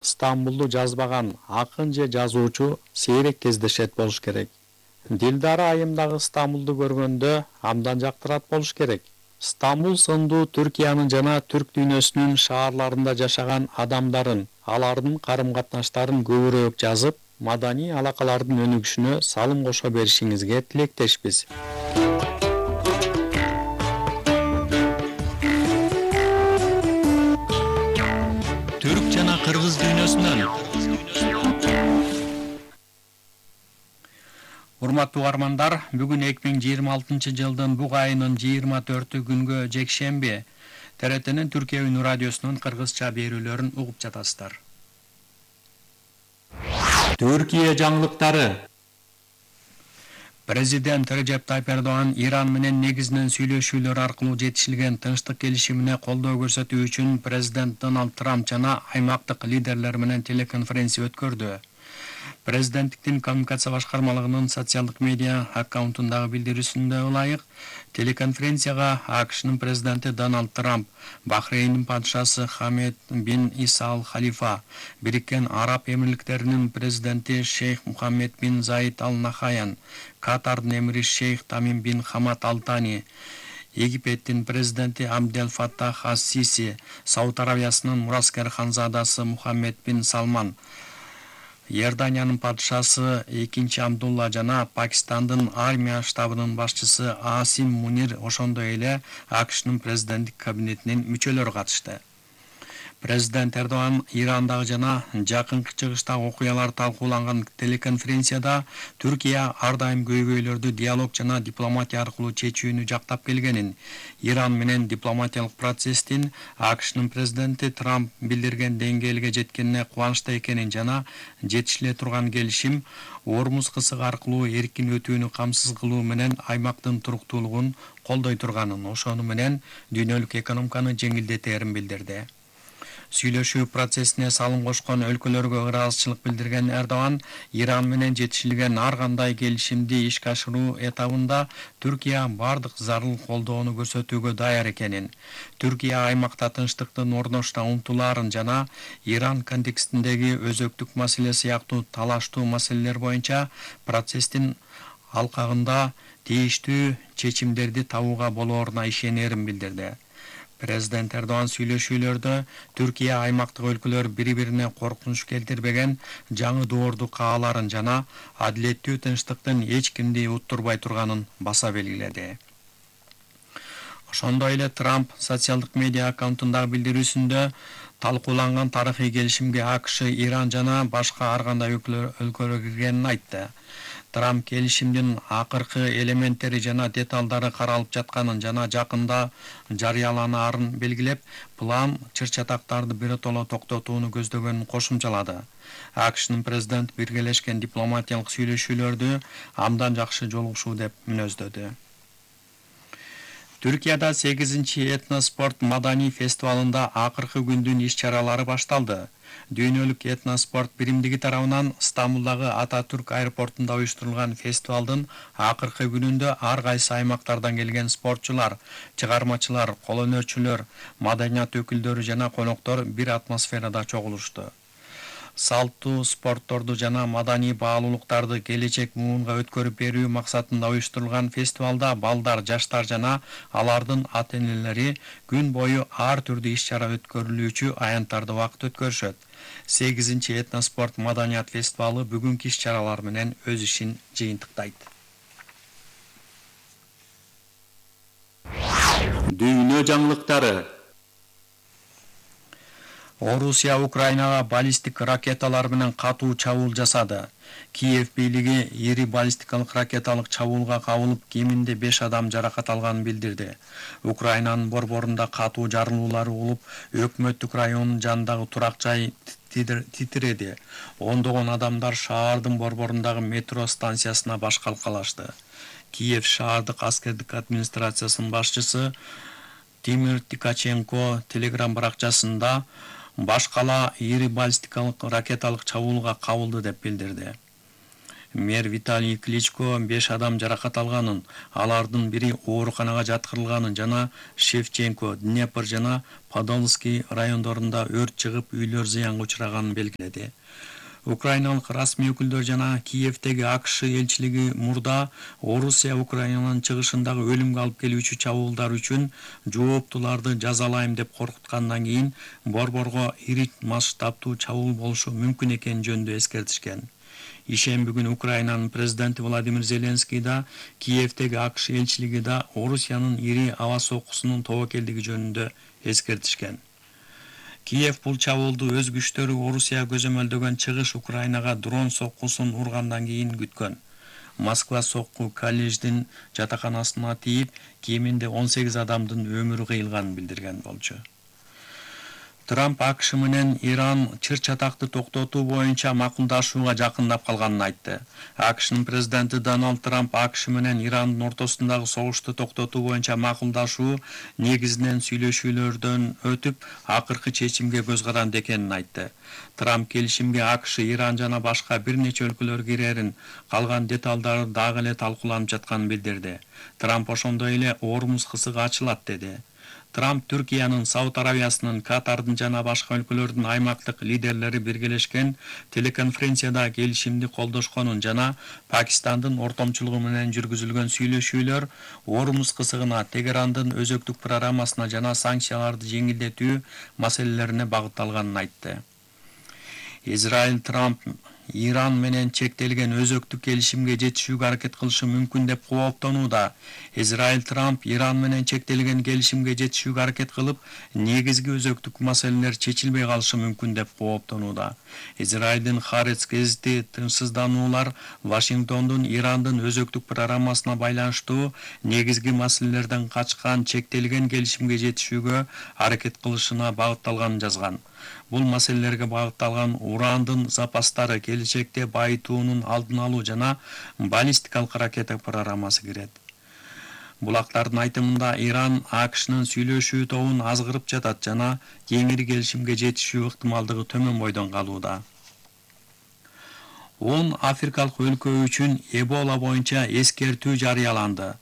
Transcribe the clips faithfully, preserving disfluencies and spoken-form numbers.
Стамбулду жазбаган акын же жазуучу сейрек кездешет болуш керек. Дилдара айымдагы Стамбулду көргөндө абдан жактырат болуш керек. Стамбул сындуу Түркиянын жана түрк дүйнөсүнүн шаарларында жашаган адамдарын, алардын карым-катнаштарын көбүрөөк жазып, маданий алакалардын өнүгүшүнө салым кошо беришиңизге тилектешпиз. Түрк жана кыргыз дүйнөсүнөн. Урматтуу угармандар, бүгүн эки миң жыйырма алтынчы жылдын буг айынын жыйырма төртү күнгө жекшемби Т Р Т'нин Түркия Үнү радиосунун кыргызча берүүлөрүн угуп жатасыздар. Түркия жаңылыктары. Президент Режеп Тайып Эрдоган Иран менен негизинен сүйлөшүүлөр аркылуу жетишилген тынчтык келишимине колдоо көрсөтүү үчүн президент Дональд Трамп жана аймактык лидерлер менен телеконференция өткөрдү. Президенттиктин коммуникация башкармалыгынын социалдык медиа аккаунтундагы билдирүүсүндө ылайык, телеконференцияга АКШнын президенти Дональд Трамп, Бахрейндин падышасы Хамед бин Иса ал Халифа, Бириккен Араб Эмирликтеринин президенти Шейх Мухаммед бин Заид ал Нахаян, Катардын эмири Шейх Тамим бин Хамад ал Тани, Египеттин президенти Абдел Фаттах ас Сиси, Сауд Аравиясынын мураскер ханзадасы Мухаммед бин Салман, Иорданиянын падышасы экинчи Абдулла жана Пакистандын армия штабынын башчысы Асим Мунир, ошондой эле АКШнын президенттик кабинетинин мүчөлөрү катышты. Президент Эрдоган Ирандагы жана жакынкы чыгыштагы окуялар талкууланган телеконференцияда Түркия ар дайым көйгөйлөрдү диалог жана дипломатия аркылуу чечүүнү жактап келгенин, Иран менен дипломатиялык процесстин АКШнын президенти Трамп билдирген деңгээлге жеткенине кубанычта экенин жана жетишиле турган келишим Ормуз кысыгы аркылуу эркин өтүүнү камсыз кылуу менен аймактын туруктуулугун колдой турганын, ошону менен дүйнөлүк экономиканы жеңилдетерин билдирди. Сүйлөшүү процессине салым кошкон өлкөлөргө ыраазычылык билдирген Эрдоган Иран менен жетишилген ар кандай келишимди ишке ашыруу этабында Түркия бардык зарыл колдоону көрсөтүүгө даяр экенин, Түркия аймакта тынчтыктын орношуна умтулаарын жана Иран контекстиндеги өзөктүк маселе сыяктуу талаштуу маселелер боюнча процесстин алкагында тийиштүү чечимдерди табууга болооруна ишенерин билдирди. Президент Эрдоган сүйлөшүүлөрдө Түркия аймактык өлкөлөр бири-бирине коркунуч келтирбеген жаңы доорду кааларын жана адилеттүү тынчтыктын эч кимди уттурбай турганын баса белгиледи. Ошондой эле Трамп социалдык медиа аккаунтундагы билдирүүсүндө талкууланган тарыхый келишимге АКШ, Иран жана башка ар кандай өлкөлөр киргенин айтты. Трамп келишимдин акыркы элементтери жана деталдары каралып жатканын жана жакында жарыяланаарын белгилеп, план чыр-чатактарды биротоло токтотууну көздөгөнүн кошумчалады. АКШнын президент биргелешкен дипломатиялык сүйлөшүүлөрдү абдан жакшы жолугушуу деп мүнөздөдү. Түркияда сегизинчи этноспорт маданий фестивалында акыркы күндүн иш-чаралары башталды. Дүйнөлүк этноспорт биримдиги тарабынан Стамбулдагы Ататүрк аэропортунда уюштурулган фестивалдын акыркы күнүндө ар кайсы аймактардан келген спортчулар, чыгармачылар, кол өнөрчүлөр, маданият өкүлдөрү жана коноктор бир атмосферада чогулушту. Салттуу спортторду жана маданий баалуулуктарды келечек муунга өткөрүп берүү максатында уюштурулган фестивалда балдар, жаштар жана алардын ата-энелери күн бою ар түрдүү иш-чара өткөрүлүүчү аянттарды убакыт өткөрүшөт. сегизинчи этноспорт маданият фестивалы бүгүнкү иш-чаралар менен өз ишин жыйынтыктайт. Дүйнө жаңылыктары. Орусия Украинага баллистик ракеталар менен катуу чабуул жасады. Киев бийлиги ири баллистикалык ракеталык чабуулга кабылып, кеминде беш адам жаракат алганын билдирди. Украинанын борборунда катуу жарылуулар болуп, өкмөттүк районунун жанындагы турак жай титиреди. Ондогон адамдар шаардын борборундагы метро станциясына баш калкалашты. Киев шаардык аскердик администрациясынын башчысы Тимир Тикаченко телеграм баракчасында баш кала ири баллистикалык ракеталык чабуулга кабылды деп билдирди. Мэр Виталий Кличко беш адам жаракат алганын, алардын бири ооруканага жаткырылганын жана Шевченко, Днепр жана Подольский райондорунда өрт чыгып, үйлөр зыянга учраганын белгиледи. Украиналык расмий өкүлдөр жана Киевдеги АКШ элчилиги мурда Орусия Украинанын чыгышындагы өлүмгө алып келүүчү чабуулдар үчүн жооптуларды жазалайм деп коркуткандан кийин борборго ири масштабтуу чабуул болушу мүмкүн экени жөнүндө эскертишкен. Ишемби күнү Украинанын президенти Владимир Зеленский да Киевдеги АКШ элчилиги да Орусиянын ири аба соккусунун тобокелдиги жөнүндө эскертишкен. Киев бул чабуулду өз күчтөрү Орусия көзөмөлдөгөн чыгыш Украинага дрон соккусун ургандан кийин күткөн. Москва сокку колледждин жатаканасына тийип, кеминде он сегиз адамдын өмүрү кыйылганын билдирген болчу. Трамп АКШ менен Иран чыр-чатакты токтотуу боюнча макулдашууга жакындап калганын айтты. АКШнын президенти Дональд Трамп АКШ менен Ирандын ортосундагы согушту токтотуу боюнча макулдашуу негизинен сүйлөшүүлөрдөн өтүп, акыркы чечимге көз каранды экенин айтты. Трамп келишимге АКШ, Иран жана башка бир нече өлкөлөр кирерин, калган деталдары дагы эле талкууланып жатканын билдирди. Трамп ошондой эле Ормуз кысыгы ачылат деди. Трамп Түркиянын, Сауд Арабиясынын, Катардын жана башка өлкөлөрдүн аймактык лидерлери биргелешкен телеконференцияда келишимди колдошконун жана Пакистандын ортомчулугу менен жүргүзүлгөн сүйлөшүүлөр Ормуз кысыгына, Тегерандын өзөктүк программасына жана санкцияларды жеңилдетүү маселелерине багытталганын айтты. Израиль Трамп Иран менен чектелген өзөктүк келишимге жетишүүгө аракет кылышы мүмкүн деп кооптонууда. Израиль Трамп Иран менен чектелген келишимге жетишүүгө аракет кылып, негизги өзөктүк маселелер чечилбей калышы мүмкүн деп кооптонууда. Израилдин Харец гезити тынчсыздануулар Вашингтондун Ирандын өзөктүк программасына байланыштуу негизги маселелерден качкан чектелген келишимге жетишүүгө аракет кылышына багытталганын жазган. Бул маселелерге багытталган урандын запастары, келечекте байытуунун алдын алуу жана баллистикалык ракета программасы кирет. Булактардын айтымында Иран АКШнын сүйлөшүү тобун азгырып жатат жана кеңири келишимге жетишүү ыктымалдыгы төмөн бойдон калууда. он африкалык өлкө үчүн Эбола боюнча эскертүү жарыяланды.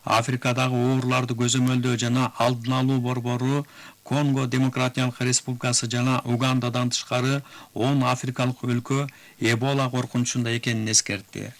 Африкадагы ооруларды көзөмөлдөө жана алдын алуу борбору Конго Демократиялык Республикасы жана Угандадан тышкары он африкалык өлкө Эбола коркунучунда экенин эскертти.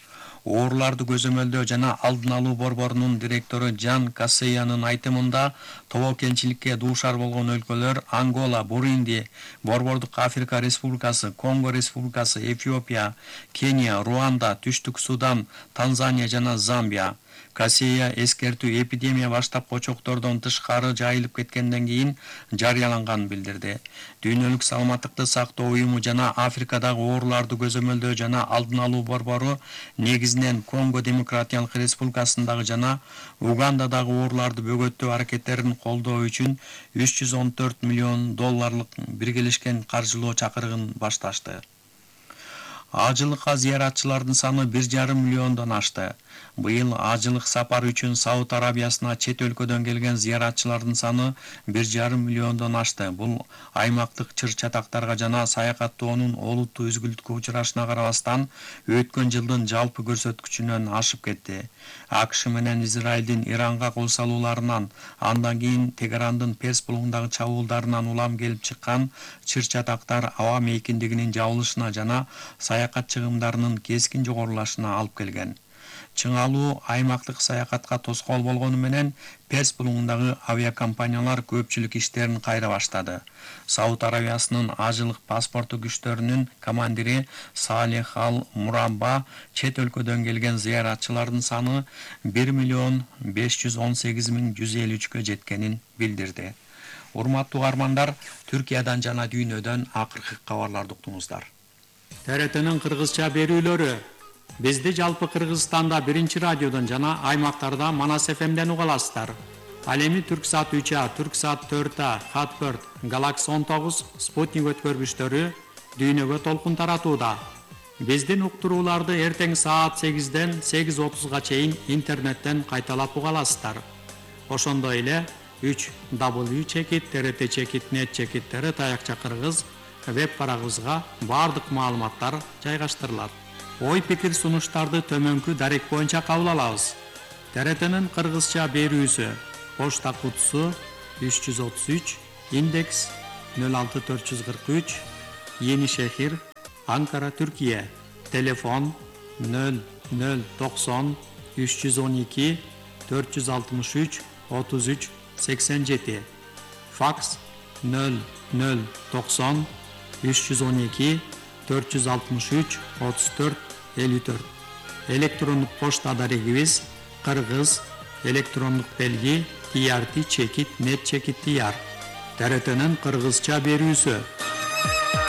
Ооруларды көзөмөлдөө жана алдын алуу борборунун директору Жан Кассеянын айтымында тобокелчиликке дуушар болгон өлкөлөр Ангола, Бурунди, Борбордук Африка Республикасы, Конго Республикасы, Эфиопия, Кения, Руанда, Түштүк Судан, Танзания жана Замбия. Кассея эскертүү эпидемия баштап очоктордон тышкары жайылып кеткенден кийин жарыяланганын билдирди. Дүйнөлүк саламаттыкты сактоо уюму жана Африкадагы ооруларды көзөмөлдөө жана алдын алуу борбору негизинен Конго Демократиялык Республикасындагы жана Угандадагы ооруларды бөгөттөө аракеттерин колдоо үчүн үч жүз он төрт миллион долларлык биргелешкен каржылоо чакырыгын башташты. Ажылыкка зыяратчылардын саны бир жарым миллиондон ашты. Быйыл ажылык сапар үчүн Сауд Арабиясына чет өлкөдөн келген зыяратчылардын саны бир жарым миллиондон ашты. Бул аймактык чыр-чатактарга жана саякаттоонун олуттуу үзгүлтүккө учурашына карабастан өткөн жылдын жалпы көрсөткүчүнөн ашып кетти. АКШ менен Израилдин Иранга кол салууларынан, андан кийин Тегерандын Перс булугундагы чабуулдарынан улам келип чыккан чыр-чатактар аба мейкиндигинин жабылышына жана саякат чыгымдарынын кескин жогорулашына алып келген. Чыңалуу аймактык саякатка тоскоол болгону менен Перс булугундагы авиакомпаниялар көпчүлүк иштерин кайра баштады. Сауд Арабиясынын ажылык паспорту күчтөрүнүн командири Салих Ал Мурабба чет өлкөдөн келген зыяратчылардын саны бир миллион беш жүз он сегиз миң жүз элүү үчкө жеткенин билдирди. Урматтуу угармандар, Түркиядан жана дүйнөдөн акыркы кабарларды уктуңуздар. Т Р Т'нин кыргызча берүүлөрү. Бизди жалпы Кыргызстанда биринчи радиодон жана аймактарда Манас эф эмден уга аласыздар. Ал эми Түрксат үч А, Түрксат төрт А, Хатберт, Галакс он тогуз, Спутник өткөргүчтөрү дүйнөгө толкун таратууда. Биздин уктурууларды эртең саат сегизден сегиз отузга чейин интернеттен кайталап уга аласыздар. Ошондой эле үч дабл ю чекит т р т чекит нет чекит т р таякча кыргыз веб барагыбызга баардык маалыматтар жайгаштырылат. Ой пикир сунуштарды төмөнкү дарек боюнча кабыл алабыз. Т Р Т'нин кыргызча берүүсү: почта кутусу үч жүз отуз үч, индекс нөл алты төрт жүз кырк үч, Yenişehir, Ankara, Türkiye. Telefon nol nol doksan üç yüz on iki dört yüz altmış üç otuz üç seksen yedi. Faks nol nol doksan üç yüz on iki dört yüz altmış üç otuz dört elli dört. Elektronik poçta adarigimiz Kırgız, elektronik belgi T R T çekit net çekit diyar. T R T'nin Kırgızça berүүsü.